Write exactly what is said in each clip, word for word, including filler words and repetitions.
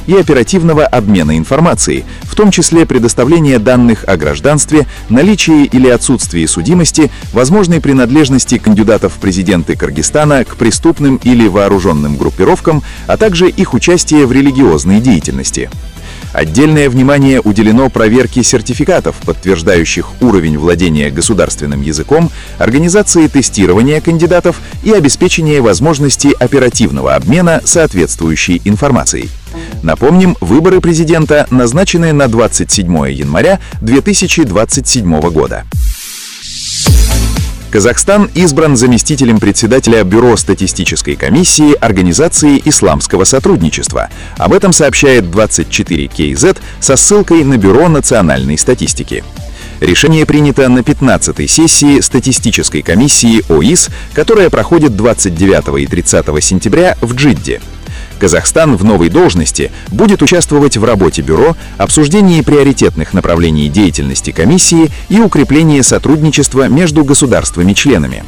и оперативного обмена информацией, в том числе предоставление данных о гражданстве, наличии или отсутствии судимости, возможной принадлежности кандидатов в президенты Кыргызстана к преступным или вооруженным группировкам, а также их участие в религиозной деятельности. Отдельное внимание уделено проверке сертификатов, подтверждающих уровень владения государственным языком, организации тестирования кандидатов и обеспечения возможности оперативного обмена соответствующей информацией. Напомним, выборы президента назначены на двадцать седьмое января две тысячи двадцать седьмого года. Казахстан избран заместителем председателя Бюро статистической комиссии Организации исламского сотрудничества. Об этом сообщает двадцать четыре кей зет со ссылкой на Бюро национальной статистики. Решение принято на пятнадцатой сессии статистической комиссии ОИС, которая проходит двадцать девятого и тридцатого сентября в Джидде. Казахстан в новой должности будет участвовать в работе бюро, обсуждении приоритетных направлений деятельности комиссии и укреплении сотрудничества между государствами-членами.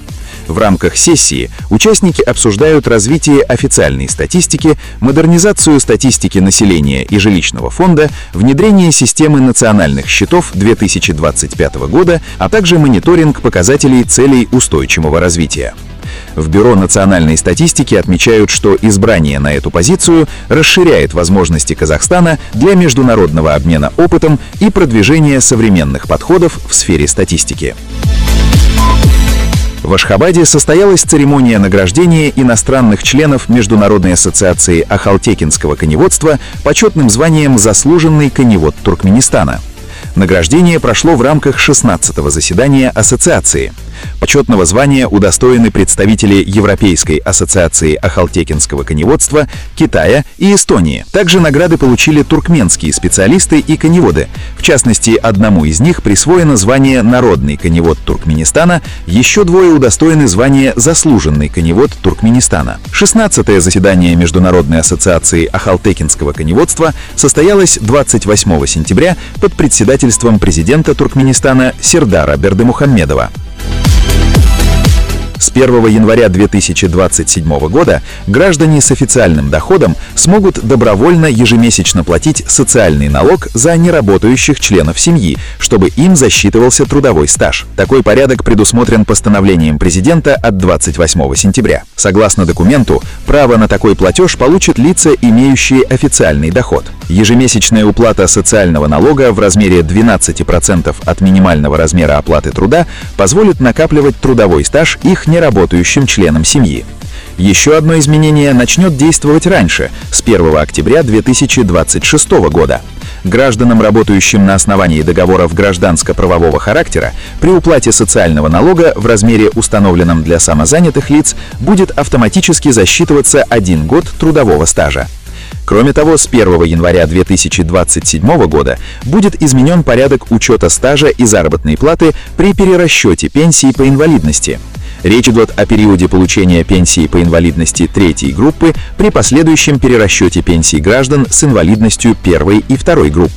В рамках сессии участники обсуждают развитие официальной статистики, модернизацию статистики населения и жилищного фонда, внедрение системы национальных счетов две тысячи двадцать пятого года, а также мониторинг показателей целей устойчивого развития. В Бюро национальной статистики отмечают, что избрание на эту позицию расширяет возможности Казахстана для международного обмена опытом и продвижения современных подходов в сфере статистики. В Ашхабаде состоялась церемония награждения иностранных членов Международной ассоциации ахалтекинского коневодства почетным званием «Заслуженный коневод Туркменистана». Награждение прошло в рамках шестнадцатого заседания ассоциации. Почетного звания удостоены представители Европейской ассоциации ахалтекинского коневодства, Китая и Эстонии. Также награды получили туркменские специалисты и коневоды. В частности, одному из них присвоено звание «Народный коневод Туркменистана», еще двое удостоены звания «Заслуженный коневод Туркменистана». шестнадцатое заседание Международной ассоциации ахалтекинского коневодства состоялось двадцать восьмого сентября под председательством президента Туркменистана Сердара Бердымухаммедова. С первого января две тысячи двадцать седьмого года граждане с официальным доходом смогут добровольно ежемесячно платить социальный налог за неработающих членов семьи, чтобы им засчитывался трудовой стаж. Такой порядок предусмотрен постановлением президента от двадцать восьмого сентября. Согласно документу, право на такой платеж получат лица, имеющие официальный доход. Ежемесячная уплата социального налога в размере двенадцати процентов от минимального размера оплаты труда позволит накапливать трудовой стаж их неработающим членам семьи. Еще одно изменение начнет действовать раньше, с первого октября две тысячи двадцать шестого года. Гражданам, работающим на основании договоров гражданско-правового характера, при уплате социального налога в размере, установленном для самозанятых лиц, будет автоматически засчитываться один год трудового стажа. Кроме того, с первого января две тысячи двадцать седьмого года будет изменен порядок учета стажа и заработной платы при перерасчете пенсии по инвалидности. Речь идет о периоде получения пенсии по инвалидности третьей группы при последующем перерасчете пенсий граждан с инвалидностью первой и второй групп.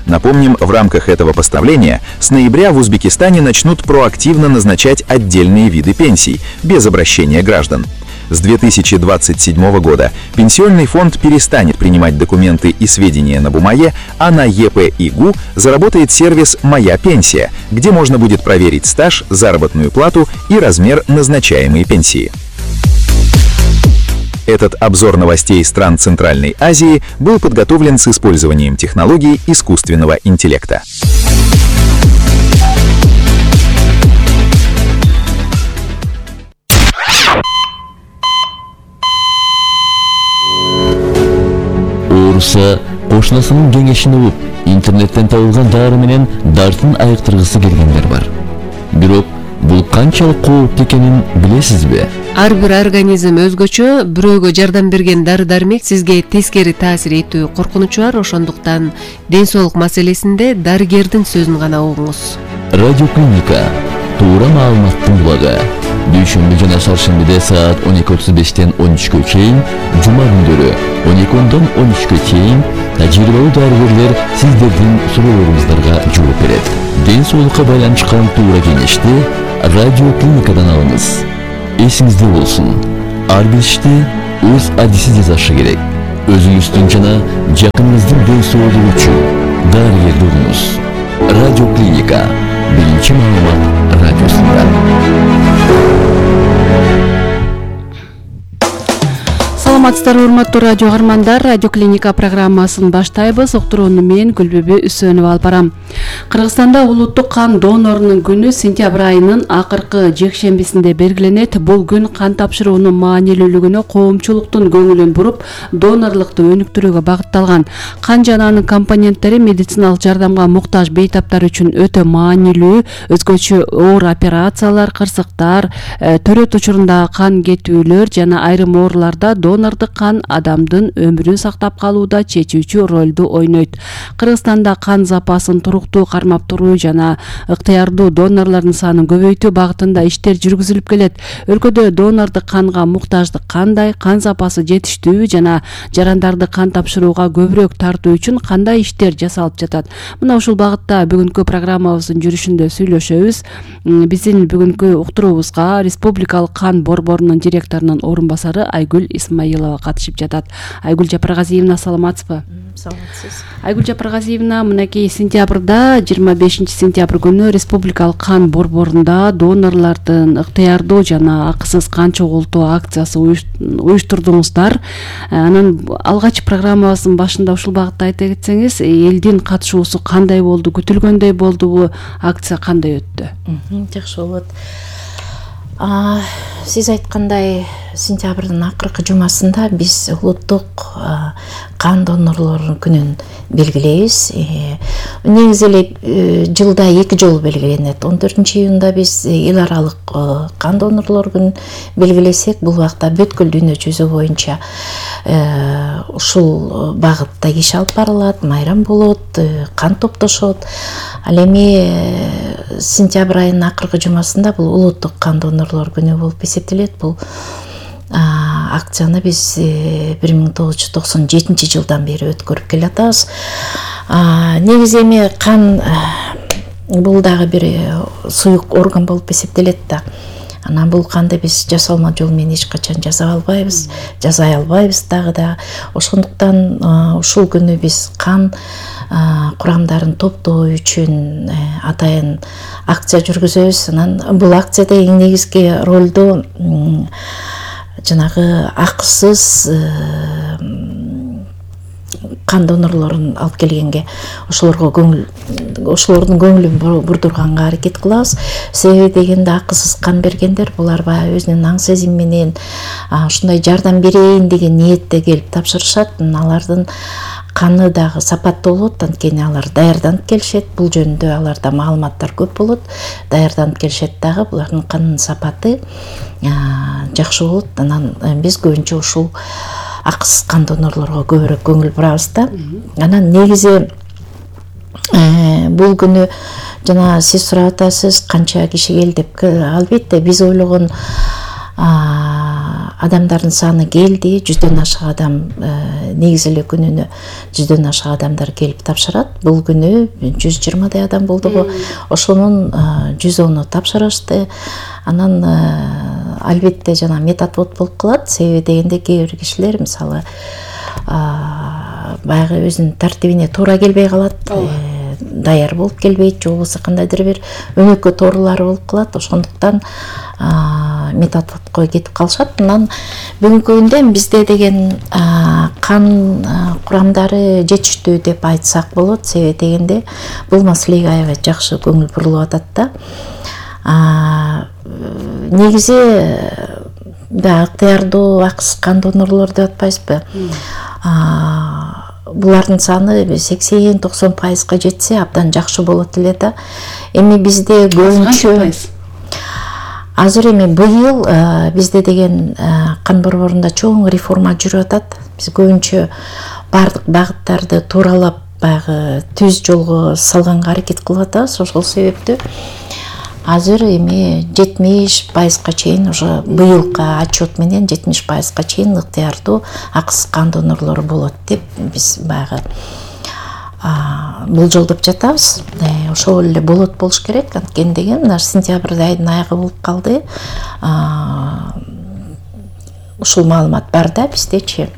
Напомним, в рамках этого постановления с ноября в Узбекистане начнут проактивно назначать отдельные виды пенсий, без обращения граждан. С две тысячи двадцать седьмого года Пенсионный фонд перестанет принимать документы и сведения на бумаге, а на ЕП-ИГУ заработает сервис «Моя пенсия», где можно будет проверить стаж, заработную плату и размер назначаемой пенсии. Этот обзор новостей стран Центральной Азии был подготовлен с использованием технологий искусственного интеллекта. Орусия кошунасынын кеңешин угуп, интернеттен табылган дары менен дартын айыктыргысы келгендер бар. Бирок бул канчалык кооптуу экенин билесизби? Ар бир организм өзгөчө, бирөөгө жардам берген дары-дармек сизге тескери таасир этүү коркунучу бар, ошондуктан ден соолук маселесинде дарыгердин сөзүн гана угуңуз. Радиоклиника туура маалыматтын булагы. Дүйшөмбү жана шаршембиде саат он эки отуз бештен он үчкө чейин, жума күндөрү он эки ондон он үчкө чейин тажрыйбалуу дарыгерлер сиздердин суроолоруңуздарга жооп берет. Ден соолукка байланышкан туура кеңешти радиоклиникадан алыңыз. Эсиңизде болсун, ар бир ишти өз адиси жасашы керек. өзүңүздүн жана жакыныңыздын ден соолугу үчүн дарыгерди угуңуз. Радио Клиника биринчи маалымат радиосунда. Саламатсыздарбы, урматтуу радио каармандар. Радио Клиника программасын баштайбыз. Уктурууну мен Гүлбүбү Үсөнова алып барам. Кыргызстанда улуттук кан донорунун күнү сентябрь айынын акыркы жекшембисинде белгиленет. Бул күн кан тапшыруунун маанилүүлүгүнө коомчулуктун көңүлүн буруп, донорлукту өнүктүрүүгө багытталган. Кан жана анын компоненттери медициналык жардамга муктаж бейтаптар үчүн өтө маанилүү. Өзгөчө оор операциялар, кырсыктар, төрөт учурунда кан кетүүлөр жана айрым ооруларда донордук кан адамдын өмүрүн сактап калууда чечүүчү ролду ойнойт. Кыргызстанда кан запасын туруктуу кармап туруу жана ыктыярдуу донорлордун санын көбөйтүү багытында иштер жүргүзүлүп келет. Өлкөдө донордук канга муктаждык кандай, кан запасы жетиштүү жана жарандарды кан тапшырууга көбүрөөк тартуу үчүн кандай иштер жасалып жатат? Мына ушул багытта бүгүнкү программабыздын жүрүшүндө сүйлөшөбүз. Биздин бүгүнкү уктуруубузга Республикалык кан борборунун директорунун орун басары Айгүл Исмаилова катышып жатат. Айгүл Жапаргазиевна, саламатсызбы? Саламатсыз. Айгүл Жапаргазиевна, мынакей сентябрда, жыйырма бешинчи сентябрь күнү Республикалык кан борборунда донорлордун ыктыярдуу жана акысыз кан чогултуу акциясы уюштурдуңуздар. Анан алгач программабыздын башында ушул багытта айта кетсеңиз, элдин катышуусу кандай болду, күтүлгөндөй болдубу, акция кандай өттү? Жакшы болот. Сиз айткандай, сентябрдын акыркы жумасында биз улуттук кан донорлорунун күнүн белгилейбиз. Негизи эле жылда эки жолу белгиленет. он төртүнчү июнда биз эл аралык кан донорлор күнүн белгилесек, бул убакта бүткүл дүйнө жүзү боюнча ушул багытта иш алып барылат, майрам болот, кан топтошот. Ал эми сентябрь айынын акыркы жумасында бул улуттук кан донорлор күнү болуп эсептелет. Бул акцияны биз бир миң тогуз жүз токсон жетинчи жылдан бери өткөрүп келатабыз. Негизи эми кан бул дагы бир суюк орган болуп эсептелет да. Анан бул канды биз жасалма жол менен эч качан жасап албайбыз, жасай албайбыз дагы да. Ошондуктан ушул күнү биз кан курамдарын топтоо үчүн атайын акция жүргүзөбүз. Анан бул акцияда эң негизги ролду жанагы акысыз кан донорлорун алып келгенге, ошолорго көңүл, ошолордун көңүлүн бурдурганга аракет кылабыз. Себеби дегенде акысыз кан бергендер булар баягы өзүнүн аң сезим менен ушундай жардам берейин деген ниетте келип тапшырышат. Алардын каны дагы сапаттуу болот, анткени алар даярданып келишет. Бул жөнүндө аларда маалыматтар көп болот. Даярданып келишет дагы, булардын канынын сапаты жакшы болот. Анан биз көбүнчө ушул акысыз кан донорлорго көбүрөөк көңүл бурабыз да. Анан негизи бул күнү жана сиз сурап атасыз, канча киши келди деп. Албетте биз ойлогон адамдардын саны келди, жүздөн ашык адам, негизи эле күнүнө жүздөн ашык адамдар келип тапшырат. Бул күнү жүз жыйырмадай адам болдугу. Ошонун жүз ону тапшырышты. Анан албетте жана метатвод болуп калат. Себеби дегенде кээ бир кишилер мисалы баягы өзүнүн тартибине туура келбей калат, даяр болуп келбейт, же болбосо кандайдыр бир өнөкөт оорулары болуп калат. Ошондуктан метатводко кетип калышат. Анан бүгүнкү күндө бизде деген кан курамдары жетиштүү деп айтсак болот. Себеби дегенде бул маселеге аябай жакшы көңүл бурулуп атат да. Негизи да ыктыярдуу акысыз кан донорлор деп атпайбызбы? Булардын саны сексен токсон пайызга жетсе абдан жакшы болот эле да. Эми бизде көбүнчө азыр эми быйыл бизде деген кан борборунда чоң реформа жүрүп атат. Биз көбүнчө бардык багыттарды тууралап баягы түз жолго салганга аракет кылып атабыз. Ошол себептүү азыр эми жетимиш пайызга чейин уже быйылкы отчет менен жетимиш пайызга чейин ыктыярдуу акысыз кан донорлору болот деп биз баягы болжолдоп жатабыз. Ошол эле болот болуш керек. Анткени деген мына сентябрь айынын аягы болуп калды. Ушул маалымат бар да биздечи.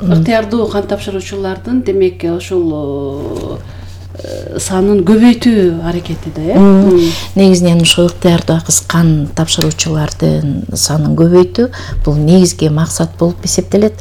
ыктыярдуу кан тапшыруучулардын демек ушул санын көбөйтүү аракети да, э? Негизинен ушул ыктыярдуу акыс кан тапшыруучулардын санын көбөйтүү бул негизги максат болуп эсептелет.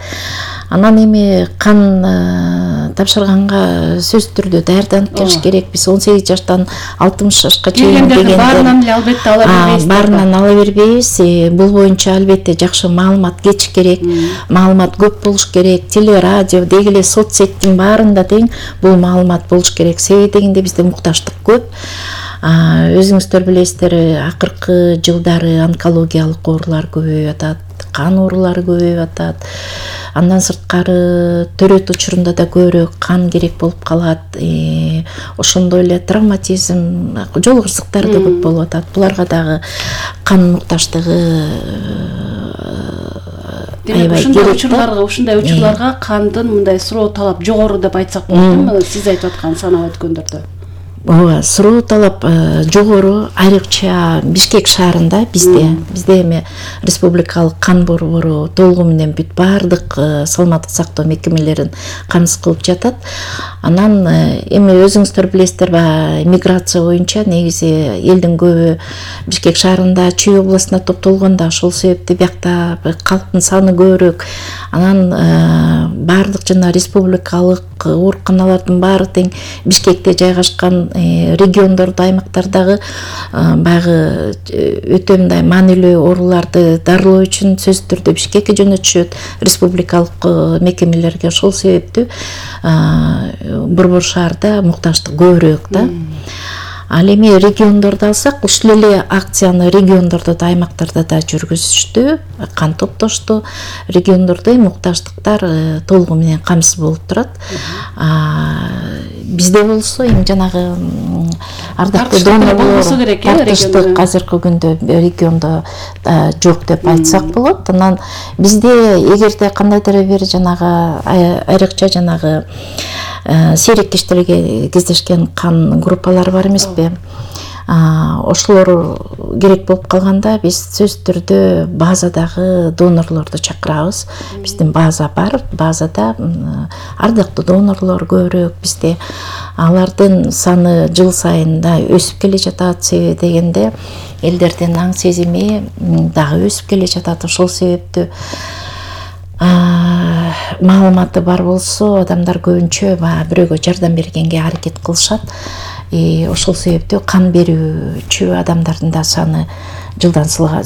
Анан эми кан тапшырганга сөзсүз түрдө даярданып келиш керек. Биз он сегиз жаштан алтымыш жашка чейин дегенде баарынан эле албетте ала бербейбиз. Баарынан ала бербейбиз. Бул боюнча албетте жакшы маалымат кетиш керек, маалымат көп болуш керек. Теле, радио, деги эле соцсеттин баарында тең бул маалымат болуш керек. Себеби дегенде бизде мукташтык көп. Өзүңүздөр билесиздер, акыркы жылдары онкологиялык оорулар көбөйүп атат, кан оорулары көбөйүп атат. Андан сырткары төрөт учурунда да көбүрөөк кан керек болуп калат. Ошондой эле травматизм, жол кырсыктары да көп болуп атат. Буларга дагы кан мукташтыгы демек ушундай учурларга, ушундай учурларга кандын мындай суроо талап жогору деп айтсак болот, сиз айтып аткан санап өткөндөрдө. Ооба, суроо талап жогору, айрыкча Бишкек шаарында бизде, бизде эми республикалык кан борбору толугу менен бүт баардык саламаттык сактоо мекемелерин камсыз кылып жатат. Анан эми өзүңүздөр билесиздер, миграция боюнча негизи элдин көбү Бишкек шаарында, Чүй областына топтолгон да, ошол себептен биякта калктын саны көбүрөөк. Анан баардык жана республикалык ооруканалардын баары тең Бишкекте жайгашкан региондордо, аймактардагы баягы өтө мындай маанилүү ооруларды дарылоо үчүн сөзсүз түрдө Бишкекке жөнөтүшөт, республикалык мекемелерге. Ошол себептүү борбор шаарда мукташтык көбүрөөк да. Ал эми региондорду алсак, ушул эле акцияны региондордо да, аймактарда да жүргүзүштү, кан топтошту. Региондордо мукташтыктар толугу менен камсыз болуп турат. Бизде болсо эми жанагы ардактуу донорлор тартыштык азыркы күндө региондо жок деп айтсак болот. Анан бизде эгерде кандайдыр бир жанагы айрыкча жанагы сейрек кездешкен кан группалары бар эмеспи? Ошолор керек болуп калганда биз сөзсүз түрдө базадагы донорлорду чакырабыз. Биздин база бар, базада ардактуу донорлор көбүрөөк бизде. Алардын саны жыл сайын да өсүп келе жатат. Себеби дегенде элдердин аң сезими дагы өсүп келе жатат. Ошол себептүү маалыматы бар болсо, адамдар көбүнчө бирөөгө жардам бергенге аракет кылышат. Ошол себептүү кан берүүчү адамдардын да саны жылдан жылга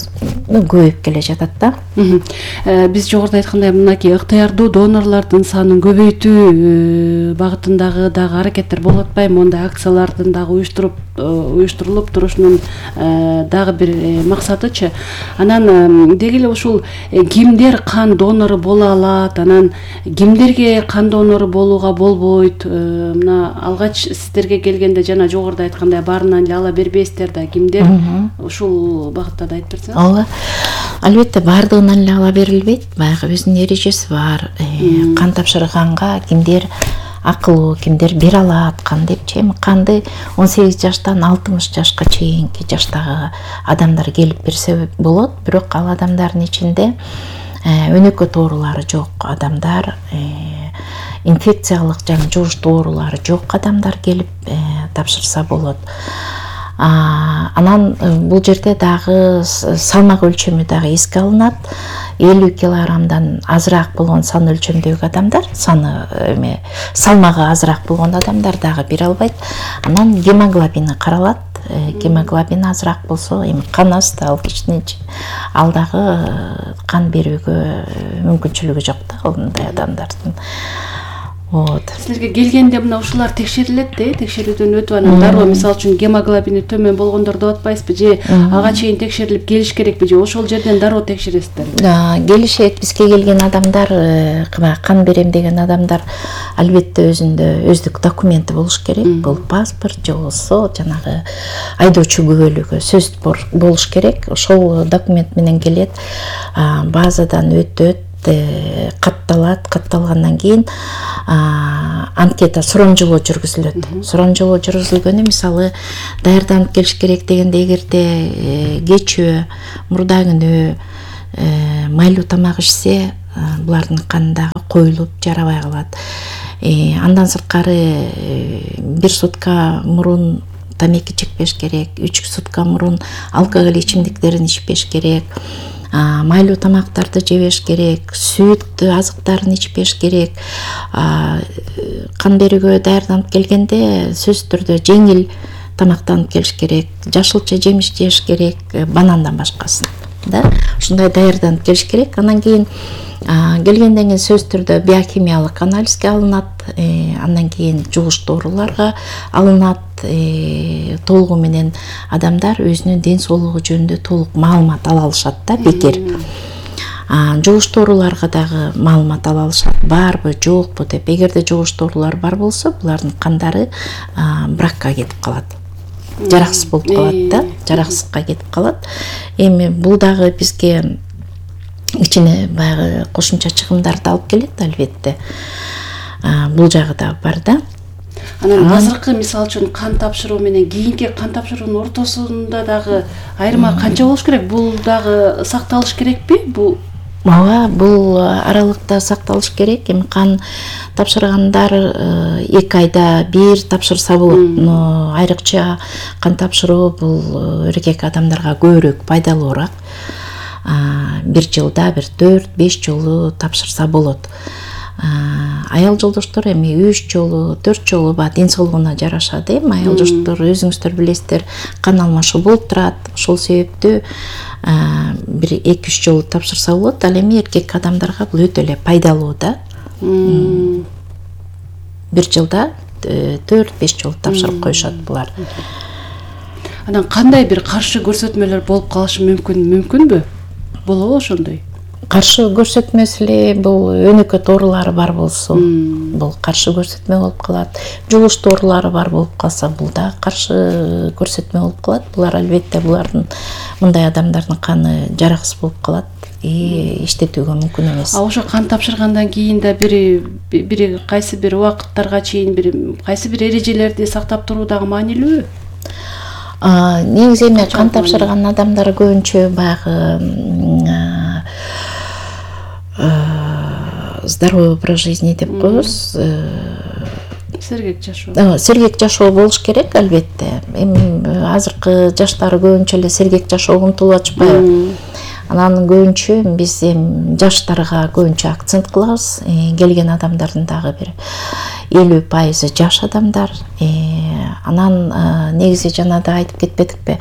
көбөйүп келе жатат да. Биз жогоруда айткандай мынакей ыктыярдуу донорлордун санын көбөйтүү багытындагы дагы аракеттер болуп атпайбы? Мондай акциялардын дагы уюштуруп уюштурулуп турушунун дагы бир максатычы. Анан деги эле ушул кимдер кан донору боло алат, анан кимдерге кан донору болууга болбойт? Мына алгач сиздерге келгенде жана жогоруда айткандай баарынан эле ала бербейсиздер да, кимдер ушул багытта да айтып берсеңиз. Ооба. Албетте баардыгынан эле ала берилбейт. Баягы өзүнүн эрежеси бар. Кан тапшырганга кимдер акылуу, кимдер бере алат кан депчи. Эми канды он сегиз жаштан алтымыш жашка чейинки жаштагы адамдар келип берсе болот. Бирок ал адамдардын ичинде өнөкөт оорулары жок адамдар, инфекциялык жана жугуштуу оорулары жок адамдар келип тапшырса болот. Анан бул жерде дагы салмак өлчөмү дагы эске алынат. элүү килограммдан азыраак болгон сан өлчөмдөгү адамдар, саны эме салмагы азыраак болгон адамдар дагы бере албайт. Анан гемоглобини каралат. Гемоглобин азыраак болсо, эми кан асты, ал кишинин ал дагы кан берүүгө мүмкүнчүлүгү жок да мындай адамдардын. Вот. Силерге келгенде мына ушулар текшерилет да, текшерүүдөн өтүп анан дароо мисалы үчүн гемоглобини төмөн болгондорду деп атпайсызбы, же ага чейин текшерилип келиш керекпи, же ошол жерден дароо текшересиздерби? Келишет, бизге келген адамдар, кан берем деген адамдар албетте өзүндө өздүк документи болуш керек. Бул паспорт же болсо жанагы айдоочу күбөлүгү сөзсүз болуш керек. Ошол документ менен келет, базадан өтөт, катталат, катталгандан кийин анкета сурамжылоо жүргүзүлөт. Сурамжылоо жүргүзүлгөнү мисалы даярданып келиш керек дегенде, эгерде кечөө, мурда күнү майлуу тамак ичсе, булардын канындагы коюлуп жарабай калат. Андан сырткары бир сутка мурун тамеки чекпеш керек, үч сутка мурун алкоголь ичимдиктерин ичпеш керек, майлуу тамактарды жебеш керек, сүт азыктарын ичпеш керек. Кан берүүгө даярданып келгенде сөзсүз түрдө жеңил тамактанып келиш керек, жашылча жемиш жеш керек, банандан башкасын. Да, ушундай даярданып келиш керек. Анан кийин келгенден кийин сөзсүз түрдө биохимиялык анализге алынат, андан кийин жугуш дооруларга алынат. Толугу менен адамдар өзүнүн ден соолугу жөнүндө толук маалымат ала алышат да, бекер. Жугуш дооруларга дагы маалымат ала алышат, барбы, жокпу деп. Эгерде жугуш доорулар бар болсо, булардын кандары бракка кетип калат. Жараксыз болуп калат да, жараксызга кетип калат. Эми бул дагы бизге ичине баягы кошумча чыгымдарды алып келет, албетте. Бул жагы да бар да. Анан азыркы мисалы үчүн кан тапшыруу менен кийинки кан тапшыруунун ортосунда дагы айырма канча болуш керек? Бул дагы сакталыш керекпи? Бул Ооба, бул аралыкта сакталыш керек. Эми кан тапшыргандар эки айда бир тапшырса болот. Но айрыкча кан тапшыруу бул эркек адамдарга көбүрөөк пайдалуураак. Бир жылда бир төрт беш жолу тапшырса болот. Аял жолдоштор эми үч жолу, төрт жолу ба ден соолугуна жараша да. Аял жолдоштор өзүңүздөр билесиздер, кан алмашуу болуп турат. Ошол себептүү бир эки үч жолу тапшырса болот. Ал эми эркек адамдарга бул өтө эле пайдалуу да. Бир жылда төрт беш жолу тапшырып коюшат булар. Анан кандай бир каршы көрсөтмөлөр болуп калышы мүмкүн, мүмкүнбү? Болобу ошондой? Каршы көрсөтмөсү эле бул өнөкөт оорулары бар болсо, бул каршы көрсөтмө болуп калат. Жугуш оорулары бар болуп калса, бул да каршы көрсөтмө болуп калат. Булар албетте булардын мындай адамдардын каны жараксыз болуп калат и иштетүүгө мүмкүн эмес. А ошо кан тапшыргандан кийин да бири бири кайсы бир убакыттарга чейин бир кайсы бир эрежелерди сактап туруу дагы маанилүүбү? Негизи эми кан тапшырган адамдар көбүнчө баягы здоровый образ жизни деп коебуз. Сергек жашоо. Сергек жашоо болуш керек, албетте. Эми азыркы жаштар көбүнчө эле сергек жашоого умтулуп атышпайбы? Анан көбүнчө биз эми жаштарга көбүнчө акцент кылабыз. Келген адамдардын дагы бир элүү пайызы жаш адамдар. Анан негизи жана да айтып кетпедикпи?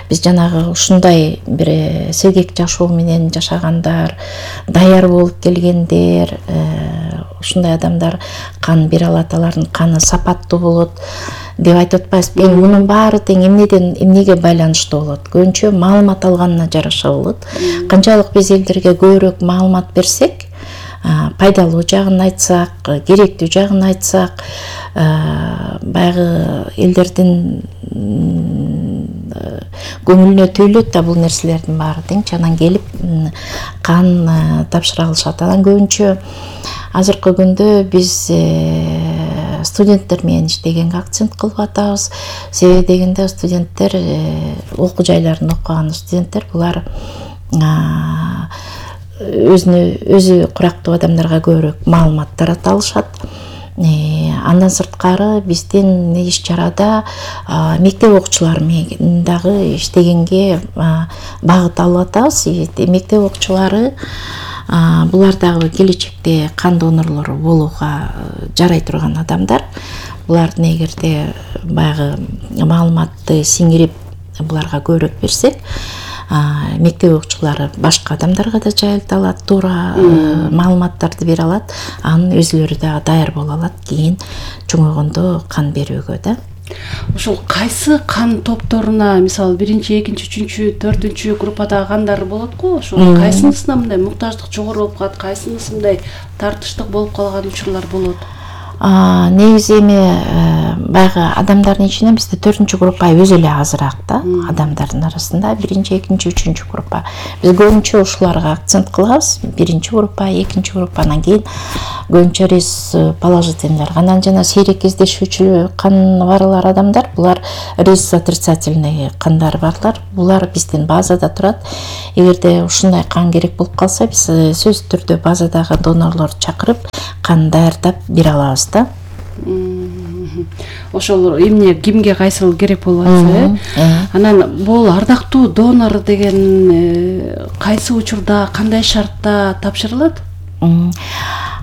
Биз жанагы ушундай бир сергек жашоо менен жашагандар, даяр болуп келгендер, ушундай адамдар кан бере алат, алардын каны сапаттуу болот деп айтып атпайбызбы? Эми мунун баары тең эмнеден эмнеге байланыштуу болот? Көбүнчө маалымат алганына жараша болот. Канчалык биз элдерге көбүрөөк маалымат берсек, пайдалуу жагын айтсак, керектүү жагын айтсак, баягы элдердин көңүлүнө түйүлөт да бул нерселердин баары тең. Анан келип кан тапшыра алышат. Анан көбүнчө азыркы күндө биз студенттер менен иштегенге акцент кылып атабыз. Себеби дегенде студенттер, окуу жайларында окуган студенттер булар өзүнө өзү курактуу адамдарга көбүрөөк маалымат тарата алышат. Андан сырткары биздин иш чарада мектеп окуучулары менен дагы иштегенге багыт алып атабыз. Мектеп окуучулары булар дагы келечекте кан донорлору болууга жарай турган адамдар. Булардын эгерде баягы маалыматты сиңирип буларга көбүрөөк берсек, мектеп окуучулары башка адамдарга да жайылта алат, туура маалыматтарды бере алат. Анын өзүлөрү дагы даяр боло алат кийин чоңойгондо кан берүүгө да. Ошол кайсы кан топторуна, мисалы биринчи, экинчи, үчүнчү, төртүнчү группадагы кандар болот го? Ошол кайсынысына мындай муктаждык жогору болуп калат, кайсынысы мындай тартыштык болуп калган учурлар болот? Негизи эми баягы адамдардын ичинен бизде төртүнчү группа өзү эле азыраак да, адамдардын арасында биринчи, экинчи, үчүнчү группа. Биз көбүнчө ушуларга акцент кылабыз. Биринчи группа, экинчи группа, анан кийин көбүнчө рис положительныйлар. Анан жана сейрек кездешүүчү кан барлар адамдар, булар рис отрицательный кандар барлар. Булар биздин базада турат. Эгерде ушундай кан керек болуп калса, биз сөзсүз түрдө базадагы донорлорду чакырып, кан даярдап бере алабыз да. Ошол эмне кимге кайсыл керек болуп атса, э? Анан бул ардактуу донор деген кайсы учурда, кандай шартта тапшырылат?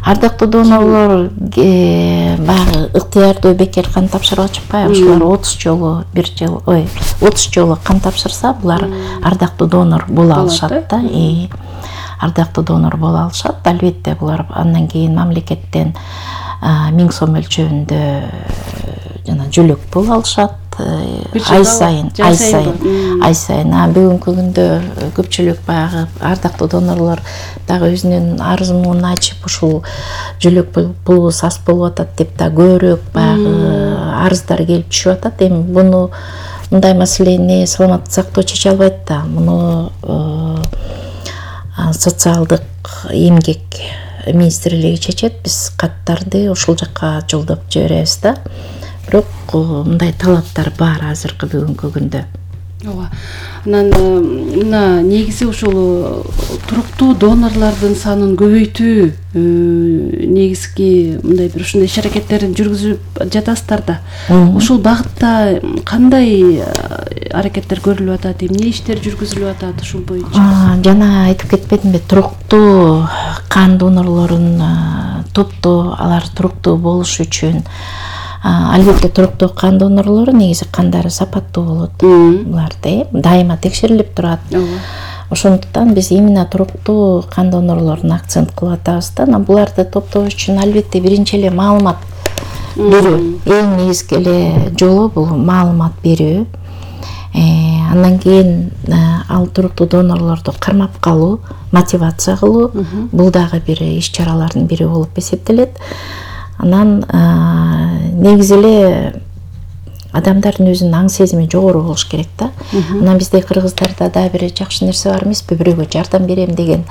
Ардактуу донорлор баягы ыктыярдуу бекер кан тапшырып атышпайбы? Ошолар отуз жолу бир жыл, ой, отуз жолу кан тапшырса, булар ардактуу донор боло алышат да. Ардактуу донор боло алышат. Албетте булар андан кийин мамлекеттен миң сом өлчөмүндө жана жөлөк пул алышат. Ай сайын, ай сайын, ай сайын. Бүгүнкү күндө көпчүлүк баягы ардактуу донорлор дагы өзүнүн арызын ачып, ушул жөлөк пулубуз аз болуп атат деп да көбүрөөк баягы арыздар келип түшүп атат. Эми буну мындай маселени саламаттык сактоо чече албайт да. Муну социалдык эмгек министрлиги чечет. Биз каттарды ушул жакка жолдоп жиберебиз да. Бирок мындай талаптар бар азыркы бүгүнкү күндө. Ооба. Анан мына негизи ушул туруктуу донорлордун санын көбөйтүү негизги мындай бир ушундай иш аракеттерин жүргүзүп жатасыздар да. Ушул багытта кандай аракеттер көрүлүп атат, эмне иштер жүргүзүлүп атат ушул боюнча? Жана айтып кетпедимби, туруктуу кан донорлорун топтоо, алар туруктуу болуш үчүн албетте туруктуу кан донорлору негизи кандары сапаттуу болот. Буларды дайыма текшерилип турат. Ошондуктан биз именно туруктуу кан донорлоруна акцент кылып атабыз да. Буларды топтоо үчүн албетте биринчи эле маалымат берүү. Эң негизги эле жолу бул маалымат берүү. Андан кийин ал туруктуу донорлорду кармап калуу, мотивация кылуу, бул дагы бир иш-чаралардын бири болуп эсептелет. Анан негизи эле адамдардын өзүнүн аң сезими жогору болуш керек да. Анан бизде кыргыздарда да бир жакшы нерсе бар эмеспи, бирөөгө жардам берем деген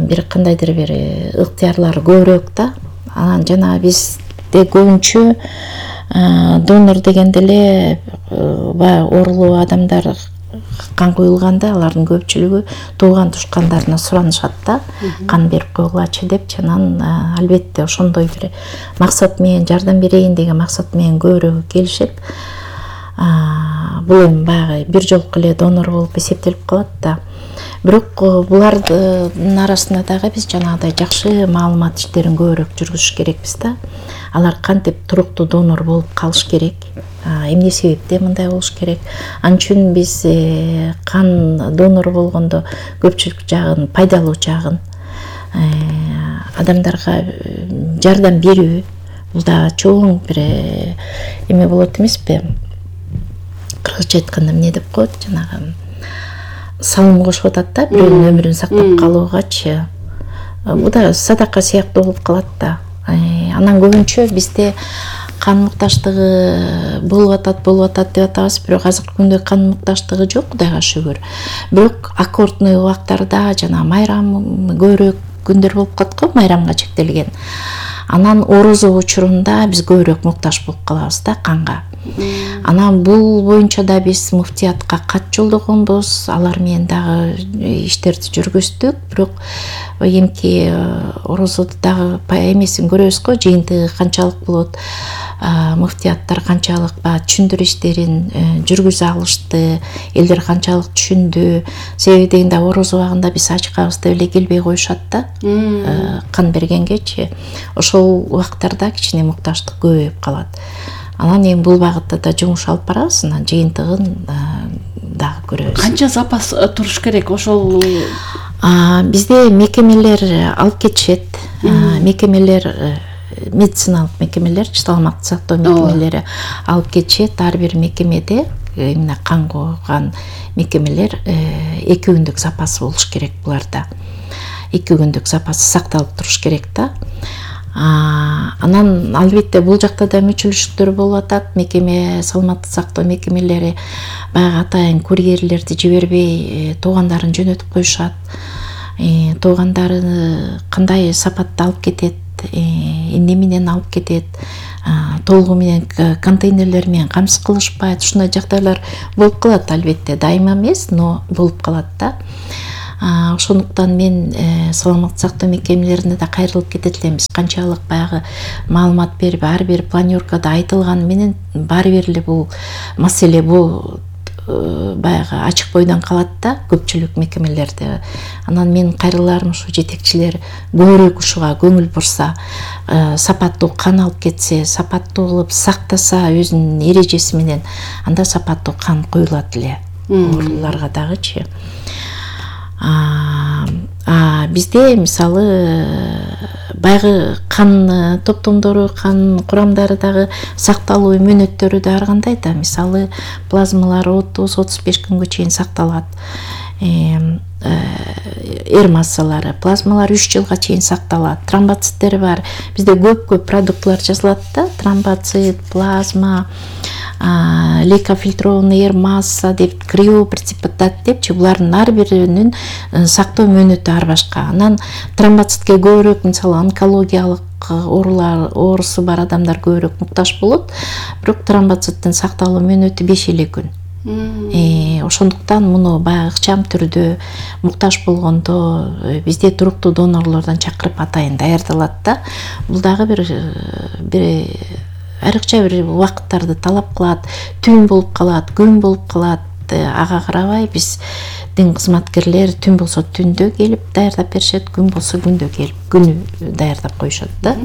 бир кандайдыр бир ыктыярлар көбүрөөк да. Анан жана бизде көбүнчө донор дегенде эле баягы оорулуу адамдар кан куюлганда алардын көпчүлүгү тууган тушкандарына суранышат да, кан берип койгулачы деп. Анан албетте ошондой бир максат менен жардам берейин деген максат менен көбүрөөкү келишет. Бул эми баягы бир жолку эле донор болуп эсептелип калат да. Бирок булардын арасында дагы биз жанагыдай жакшы маалымат иштерин көбүрөөк жүргүзүш керекпиз да. Алар кантип туруктуу донор болуп калыш керек, эмне себептен мындай болуш керек. Ал үчүн биз кан донор болгондо көпчүлүк жагын, пайдалуу жагын, адамдарга жардам берүү, бул да чоң бир эме болот эмеспи? Кыргызча айтканда эмне деп коет, жанагы салым кошуп атат да, бирөөнүн өмүрүн сактап калуугачы. Бул да садака сыяктуу болуп калат да. Анан көбүнчө бизде кан мукташтыгы болуп атат, болуп атат деп атабыз, бирок азыркы күндө кан мукташтыгы жок, Кудайга шүгүр. Бирок аккордный убактарда жана майрам көбүрөөк күндөр болуп калат го, майрамга чектелген. Анан орозо учурунда биз көбүрөөк мукташ болуп калабыз да канга. Анан бул боюнча да биз муфтиятка кат жолдогонбуз, алар менен дагы иштерди жүргүздүк. Бирок эмки орозодо дагы эмесин көрөбүз го, жыйынтыгы канчалык болот, муфтияттар канчалык баягы түшүндүрүү иштерин жүргүзө алышты, элдер канчалык түшүндү. Себеби дегенде орозо убагында биз ачкабыз деп эле келбей коюшат да, кан бергенгечи. Ошол убактарда кичине мукташтык көбөйүп калат. Анан эми бул багытта да жумуш алып барабыз, анан жыйынтыгын дагы көрөбүз. Канча запас туруш керек ошол? Бизде мекемелер алып кетишет. Мекемелер, медициналык мекемелер, саламаттык сактоо мекемелери алып кетишет. Ар бир мекемеде, эмне кан койгон мекемелер эки күндүк запасы болуш керек буларда. эки күндүк запасы сакталып туруш керек да. Анан албетте бул жакта да мүчүлүштөр болуп атат. Мекеме, саламаттык сактоо мекемелери баягы атайын курьерлерди жибербей туугандарын жөнөтүп коюшат. Туугандары кандай сапатта алып кетет, эмне менен алып кетет, толугу менен контейнерлер менен камсыз кылышпайт. Ушундай жагдайлар болуп калат, албетте дайыма эмес, но болуп калат да. Ошондуктан мен саламаттык сактоо мекемелерине да кайрылып кетет элем. Биз канчалык баягы маалымат берип, ар бир планёркада айтылганы менен баары бир эле бул маселе бул баягы ачык бойдон калат да көпчүлүк мекемелерде. Анан менин кайрыларым ушу жетекчилер көбүрөөк ушуга көңүл бурса, сапаттуу кан алып кетсе, сапаттуу кылып сактаса өзүнүн эрежеси менен, анда сапаттуу кан куюлат эле ооруларга дагычы. А бизде мисалы баягы кан топтомдору, кан курамдары дагы сакталуу мөөнөттөрү да ар кандай да. Мисалы плазмалар отуз отуз беш күнгө чейин сакталат. Эр массалары, плазмалар үч жылга чейин сакталат. Тромбоциттер бар. Бизде көп-көп продуктлар жазылат да. Тромбоцит, плазма, лейкофильтрованный эр масса деп, криопреципитат депчи, булардын ар биринин сактоо мөөнөтү ар башка. Анан тромбоцитке көбүрөөк мисалы онкологиялык оорулар, оорусу бар адамдар көбүрөөк муктаж болот. Бирок тромбоциттин сакталуу мөөнөтү беш эле күн. Ошондуктан муну баягы ыкчам түрдө муктаж болгондо бизде туруктуу донорлордон чакырып атайын даярдалат да. Бул дагы бир бир айрыкча бир убакыттарды талап кылат, түн болуп калат, күн болуп калат. Ага карабай биздин кызматкерлер түн болсо түндө келип даярдап беришет, күн болсо күндө келип күнү даярдап коюшат да.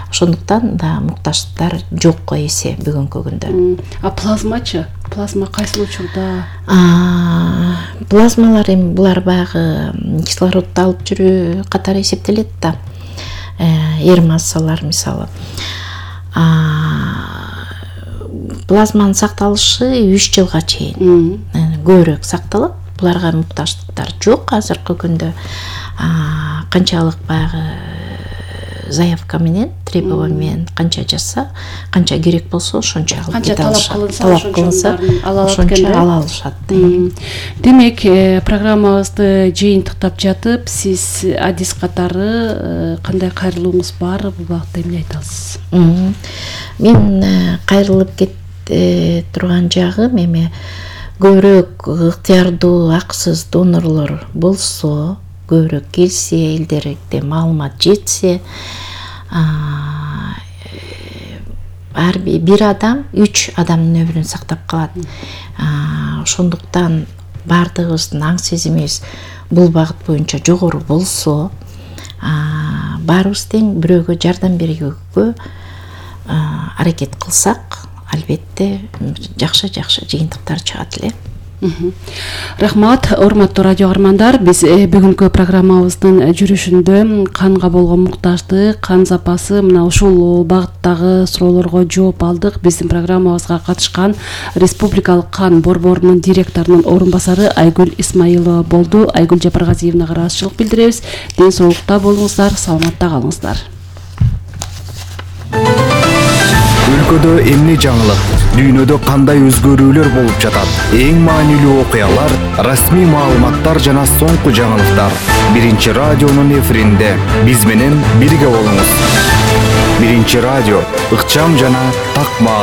Ошондуктан да муктаждыктар жокко эсе бүгүнкү күндө. А плазмачы? Плазма кайсы учурда? Плазмалар эми булар баягы кислородду алып жүрүү катары эсептелет да. Эр массалар мисалы. Плазманын сакталышы үч жылга чейин көбүрөөк сакталат. Буларга муктаждыктар жок азыркы күндө. Канчалык баягы заявка менен, требование менен канча жазса, канча керек болсо ошончо алып кете алышат. Талап кылынса, ошончо ала алышат. Демек, программабызды жыйынтыктап жатып, сиз адис катары кандай кайрылууңуз бар, бул багытта эмне айта аласыз? Мен кайрылып кет турган жагым эми көбүрөөк ыктыярдуу акысыз донорлор болсо, көбүрөөк келсе, элдерге маалымат жетсе, ар бир адам үч адамдын өмүрүн сактап калат. Ошондуктан баардыгыбыздын аң сезимибиз бул багыт боюнча жогору болсо, баарыбыз тең бирөөгө жардам берүүгө аракет кылсак, албетте жакшы-жакшы жыйынтыктар чыгат эле. Рахмат, урматтуу радио каармандар. Биз бүгүнкү программабыздын жүрүшүндө канга болгон муктаждык, кан запасы мына ушул багыттагы суроолорго жооп алдык. Биздин программабызга катышкан Республикалык кан борборунун директорунун орун басары Айгүл Исмаилова болду. Айгүл Жапаргазиевнага ыраазычылык билдиребиз. Ден соолукта болуңуздар, саламатта калыңыздар. Өлкөдө эмне жаңылык, дүйнөдө кандай өзгөрүүлөр болуп жатат? Эң маанилүү окуялар, расмий маалыматтар жана соңку жаңылыктар. Биринчи радионун эфиринде биз менен бирге болуңуз. Биринчи радио, ыкчам жана так маалымат.